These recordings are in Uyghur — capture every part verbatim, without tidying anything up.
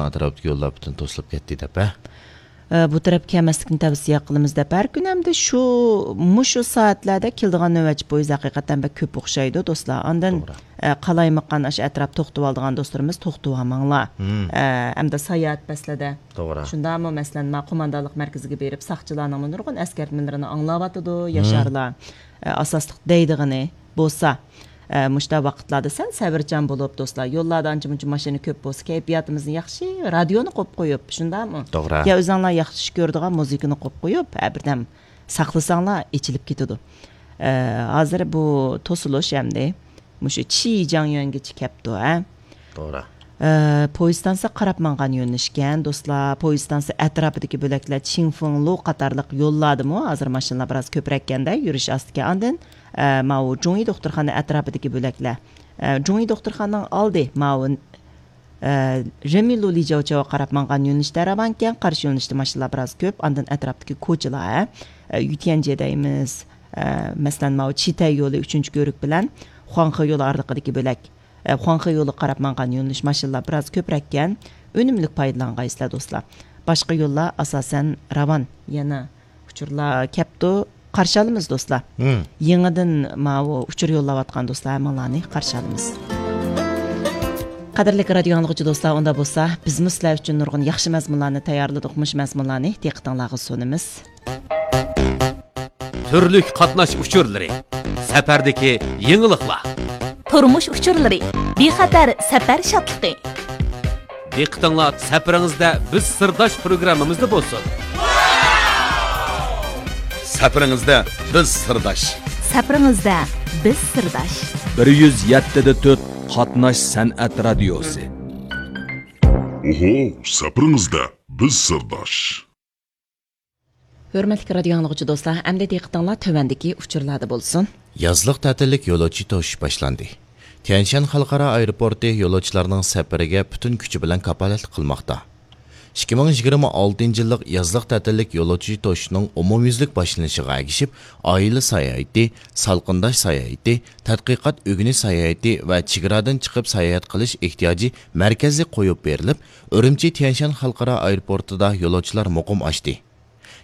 ئەتراپتىكى يوللار پۈتۈن توسۇلۇپ كەتتى دەپ، ھە؟ ئە، بۇ تەرەپكە كەلمەسلىكنى تەۋسىيە قىلىمىز دەپ، ھەر كۈنى ھەمدە شۇ، مۇشۇ سائەتلەردە كېلىدىغان نۆۋەتچى پويىز ھەقىقەتەن بەك كۆپ ئوخشايدۇ، دوستلار. ئاندىن، توغرا. ئە، قالايمىقان ئاشۇ ئەتراپ توختىۋالىدىغان دوستلىرىمىز توختىۋالماڭلار. مم. ئە، ئەمدى ساياھەت پەسلىدە. توغرا. شۇنداقمۇ، مەسىلەن، ما قوماندانلىق مەركىزىگە بېرىپ، ساقچىلارنىڭمۇ نۇرغۇن ئەسكەرتمىلىرىنى ئاڭلاۋاتىدۇ، مم. ياشارلار. ئە، ئاساسلىق دەيدىغىنى بولسا، ئە، مۇشۇنداق ۋاقىتلاردا سەل سەۋرچان بولۇپ، دوستلار، يوللاردا ئانچە-مۇنچە ماشىنا كۆپ بولسا، كەيپىياتىمىزنى ياخشى، رادىيونى قويۇپ قويۇپ، شۇنداقمۇ؟ توغرا. يا ئۆزۈڭلار ياخشى كۆرىدىغان مۇزىكىنى قويۇپ قويۇپ، ھە، بىردەم ساقلىساڭلار، ئېچىلىپ كېتىدۇ. ئە، ھازىر بۇ توسۇلۇش ئەمدى مۇشۇ چىجياڭيۈەنگىچە كەپتۇ، ھە؟ توغرا. ئە، پويىز ئىستانسا قاراپ ماڭغان يۆنىلىشكەن، دوستلار. پويىز ئىستانسا ئەتراپىدىكى بۆلەكلەر، چىڭفېڭلۇ قاتارلىق يوللاردىمۇ ھازىر ماشىنىلار بىراز كۆپرەككەندە، يۈرۈش ئاستىكەن. ئاندىن، ئە، ماۋۇ جۇڭيى دوختۇرخانا ئەتراپىدىكى بۆلەكلەر. ئە، جۇڭيى دوختۇرخانىنىڭ ئالدى ماۋۇ، ئە، رېمىلۇ لىجياۋچاۋغا قاراپ ماڭغان يۆنىلىشتە راۋانكەن، قارشى يۆنىلىشتە ماشىنىلار بىراز كۆپ. ئاندىن ئەتراپتىكى كوچىلار، ھە؟ ئە، يۈتيەنجيې دەيمىز. ئە، مەسىلەن، ماۋۇ چىتەي يولى ئۈچىنچى كۆۋرۈك بىلەن خۇاڭخې يولى ئارىلىقىدىكى بۆلەك. ئە، خۇاڭخې يولىغا قاراپ ماڭغان يۆنىلىش ماشىنىلار بىراز كۆپرەككەن. ئۈنۈملۈك پايدىلانغايسىلەر، دوستلار. باشقا يوللار ئاساسەن راۋان. يەنە ئۇچۇرلار كەپتۇ. قارشى ئالىمىز، دوستلار. مم. يېڭىدىن ماۋۇ ئۇچۇر يوللاۋاتقان دوستلار ھەممىڭلارنى قارشى ئالىمىز. قەدىرلىك رادىيو ئاڭلىغۇچى دوستلار، ئۇنداق بولسا، بىزمۇ سىلەر ئۈچۈن نۇرغۇن ياخشى مەزمۇنلارنى تەييارلىدۇق. مۇشۇ مەزمۇنلارنى دىققىتىڭلارغا سۇنىمىز. تۈرلۈك قاتناش ئۇچۇرلىرى، سەپەردىكى يېڭىلىقلار. تۇرمۇش ئۇچۇرلىرى، بىخەتەر سەپەر شادلىقى. دىققىتىڭلار سەپىرىڭىزدە بىز سىرداش پروگراممىمىزدا بولسۇن. سەپىرىڭىزدە بىز سىرداش. سەپىرىڭىزدە بىز سىرداش. بىر يۈز يەتتە دە تۆت قاتناش سەنئەت رادىيوسى. ئوھو، سەپىرىڭىزدە بىز سىرداش. ھۆرمەتلىك رادىيو ئاڭلىغۇچى دوستلار، ئەمدى دىققىتىڭلار تۆۋەندىكى ئۇچۇرلاردا بولسۇن. يازلىق تەتىللىك يولۇچى توشۇش باشلاندى. تيەنشان خەلقئارا ئايروپورتى يولۇچىلارنىڭ سەپىرىگە پۈتۈن كۈچى بىلەن كاپالەتلىك قىلماقتا. ئىككى مىڭ يىگىرمە ئالتىنچى يىللىق يازلىق تەتىللىك يولۇچى توشۇشنىڭ ئومۇميۈزلۈك باشلىنىشىغا ئەگىشىپ، ئائىلە ساياھىتى، سالقىنداش ساياھىتى، تەتقىقات ئۆگىنىش ساياھىتى ۋە چېگرادىن چىقىپ ساياھەت قىلىش ئېھتىياجى مەركەزلىك قويۇپ بېرىلىپ، ئۈرۈمچى تيەنشان خەلقئارا ئايروپورتىدا يولۇچىلار مۇقىم ئاشتى.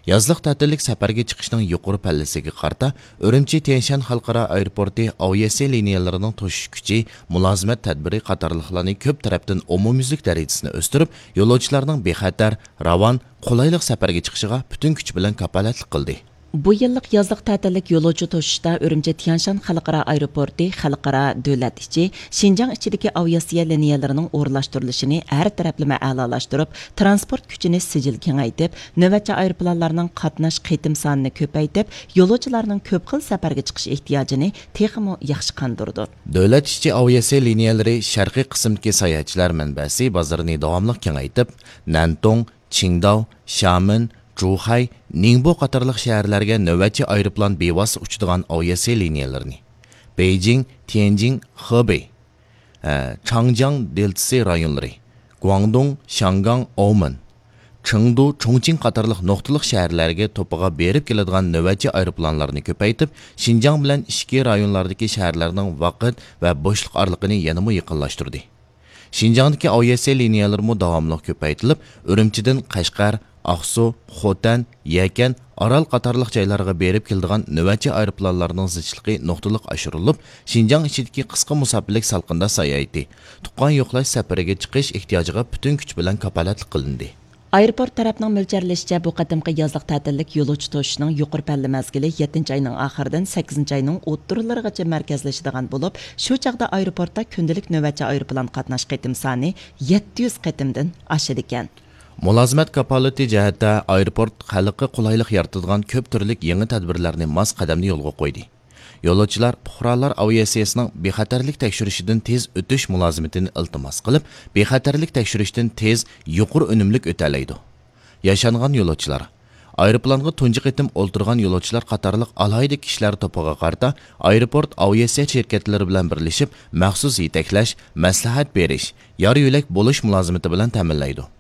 يازلىق تەتىللىك سەپەرگە چىقىشنىڭ يۇقىرى پەللىسىگە قارىتا، ئۈرۈمچى تيەنشان خەلقئارا ئايروپورتى ئاۋىئاتسىيە لىنىيەلىرىنىڭ توشۇش كۈچى، مۇلازىمەت تەدبىرى قاتارلىقلارنى كۆپ تەرەپتىن ئومۇميۈزلۈك دەرىجىسىنى ئۆستۈرۈپ، يولۇچىلارنىڭ بىخەتەر، راۋان، قولايلىق سەپەرگە چىقىشىغا پۈتۈن كۈچ بىلەن كاپالەتلىك قىلدى. بۇ يىللىق يازلىق تەتىللىك يولۇچى توشۇشتا ئۈرۈمچى تيەنشان خەلقئارا ئايروپورتى خەلقئارا دۆلەت ئىچى، شىنجاڭ ئىچىدىكى ئاۋىئاتسىيە لىنىيەلىرىنىڭ ئورۇنلاشتۇرۇلۇشىنى ھەر تەرەپلىمە ئەلالاشتۇرۇپ، تىرانسپورت كۈچىنى سىجىل كېڭەيتىپ، نۆۋەتچى ئايروپىلانلارنىڭ قاتناش قېتىم سانىنى كۆپەيتىپ، يولۇچىلارنىڭ كۆپ خىل سەپەرگە چىقىش ئېھتىياجىنى تېخىمۇ ياخشى قاندۇرىدۇ. دۆلەت ئىچى ئاۋىئاتسىيە لىنىيەلىرى شەرقىي قىسىمدىكى ساياھەتچىلەر مەنبەسى بازىرىنى داۋاملىق كېڭەيتىپ، نەنتۇڭ، چىڭداۋ، شامېن، جۇخەي، نىڭبو قاتارلىق شەھەرلەرگە نۆۋەتچى ئايروپىلان بىۋاسىتە ئۇچىدىغان ئاۋىئاتسىيە لىنىيەلىرىنى، بېيجىڭ، تيەنجىڭ، خېبېي، ئە، چاڭجياڭ دېلتىسى رايونلىرى، گۇاڭدۇڭ، شياڭگاڭ، ئاۋمېن، چېڭدۇ، چۇڭچىڭ قاتارلىق نۇقتىلىق شەھەرلەرگە توپىغا بېرىپ كېلىدىغان نۆۋەتچى ئايروپىلانلارنى كۆپەيتىپ، شىنجاڭ بىلەن ئىچكى رايونلاردىكى شەھەرلەرنىڭ ۋاقىت ۋە بوشلۇق ئارىلىقىنى يەنىمۇ يېقىنلاشتۇردى. شىنجاڭدىكى ئاۋىئاتسىيە لىنىيەلىرىمۇ داۋاملىق كۆپەيتىلىپ، ئۈرۈمچىدىن قەشقەر، ئاقسۇ، خوتەن، يەكەن، ئارال قاتارلىق جايلارغا بېرىپ كېلىدىغان نۆۋەتچى ئايروپىلانلارنىڭ زىچلىقى نۇقتىلىق ئاشۇرۇلۇپ، شىنجاڭ ئىچىدىكى قىسقا مۇساپىلىك سالقىنداش ساياھىتى، تۇغقان يوقلاش سەپىرىگە چىقىش ئېھتىياجىغا پۈتۈن كۈچ بىلەن كاپالەتلىك قىلىندى. ئايروپورت تەرەپنىڭ مۆلچەرلىشىچە، بۇ قېتىمقى يازلىق تەتىللىك يولۇچى توشۇشنىڭ يۇقىرى پەللە مەزگىلى يەتتىنچى ئاينىڭ ئاخىرىدىن سەككىزىنچى ئاينىڭ ئوتتۇرىلىرىغىچە مەركەزلىشىدىغان بولۇپ، شۇ چاغدا ئايروپورتتا كۈندىلىك نۆۋەتچى ئايروپىلان قاتناش قېتىم سانى يەتتە يۈز قېتىمدىن ئاشىدىكەن. مۇلازىمەت كاپالىتى جەھەتتە ئايروپورت خەلققە قولايلىق يارىتىدىغان كۆپ تۈرلۈك يېڭى تەدبىرلەرنى ماس قەدەمدە يولغا قويدى. يولۇچىلار پۇقرالار ئاۋىئاتسىيىسىنىڭ بىخەتەرلىك تەكشۈرۈشىدىن تېز ئۆتۈش مۇلازىمىتىنى ئىلتىماس قىلىپ، بىخەتەرلىك تەكشۈرۈشتىن تېز، يۇقىرى ئۈنۈملۈك ئۆتەلەيدۇ. ياشانغان يولۇچىلار، ئايروپىلانغا تۇنجى قېتىم ئولتۇرغان يولۇچىلار قاتارلىق ئالاھىدە كىشىلەر توپىغا قارىتا ئايروپورت ئاۋىئاتسىيە شىركەتلىرى بىلەن بىرلىشىپ مەخسۇس يېتەكلەش، مەسلىھەت بېرىش، يار يۆلەك بولۇش مۇلازىمىتى بىلەن تەمىنلەيدۇ.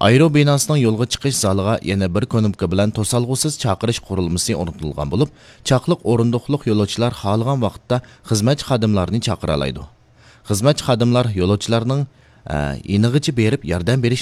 ئايرو بىناسىنىڭ يولغا چىقىش زالىغا يەنە بىر كۇنۇپكا بىلەن توسالغۇسىز چاقىرىش قۇرۇلمىسى ئورنىتىلغان بولۇپ، چاقلىق ئورۇندۇقلۇق يولۇچىلار خالىغان ۋاقىتتا خىزمەتچى خادىملارنى چاقىرالايدۇ. خىزمەتچى خادىملار يولۇچىلارنىڭ، ئە، يېنىغىچە بېرىپ ياردەم بېرىش